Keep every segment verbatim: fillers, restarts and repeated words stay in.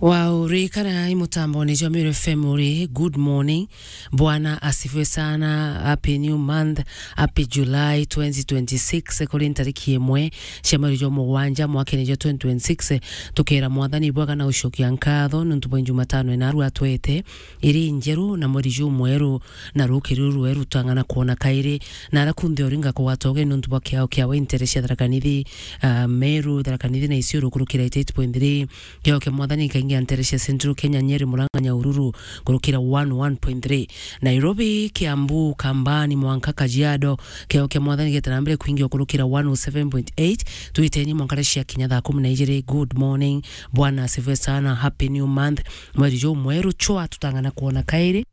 Wow, ririkana i mutamboni jwa Meru F M uri. Good morning. Bwana asifiwe sana. Happy new month. Happy July twenty twenty-six. Kuri ntariki imwe cia mweri jwa mugwanja mwakene jwa twenty twenty-six, tukera Mwathani bwega na ucokia nkatho nuntu bwa Jumatano ina aru atwete iri njeru na mweri jumweru na rukiri ruru rweru tang'ana kwona kairi. Na ara kunthe uri ngakugwata uge nuntu bwa kiao kiawe intere cia Tharaka Nithi, ah, Meru, Tharaka Nithi na Isiolo kurukira eighty-eight point three. Kiao kia Mwathani kaingi antere cia Central Kenya, Nyeri, Murang'a, Nyahururu kurukira one oh one point three. Nairobi, Kiambu, Kambani, mwanka Kajiado, kiao kia Mwathani getara mbere kwingi kurukira one oh seven point eight. Twiteni mwankare cia kinya thaa kumi na ijiri. Good morning. Bwana asifiwe sana. Happy new month. Mweri jumweru chwa tutang'ana kwona kairi.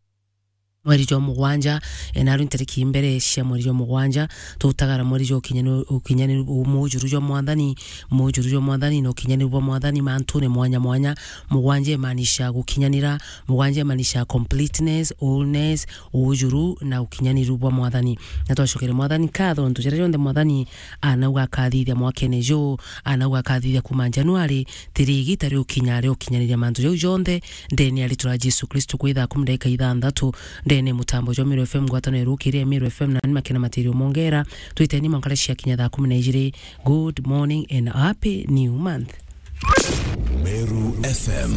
Mweri jwa mugwanja, e, naru ntariki mbere cia mweri jwa mugwanja, tutagara mweri jwa ukinyanu-, ukinyaniru, mujuru jwa Mwathani, mujuru jwa Mwathani na ukinyaniru bwa Mwathani mantune mwanya mwanya. Mugwanja imaanisha gukinyanira, mugwanja imaanisha completeness, wholeness, ujuru na ukinyaniru bwa Mwathani. Na twacokere Mwathani nkatho nontu jaria jonthe Mwathani anauga akathithia mwakene juu, anauga akathithia kuma Januari, tiri igita riukinya ria ukinyaniria mantu jau jonthe, ndene ya ritwa ria Jesu Kristo kwi thaa kumi ndagika ithanthatu, ndene mutambo jwa Meru F M ngwataniro irukiria Meru F M na ni makena matirio mongera, twiteni mwankare cia kinya thaa kumi na ijiri. Good morning and happy new month. Meru F M.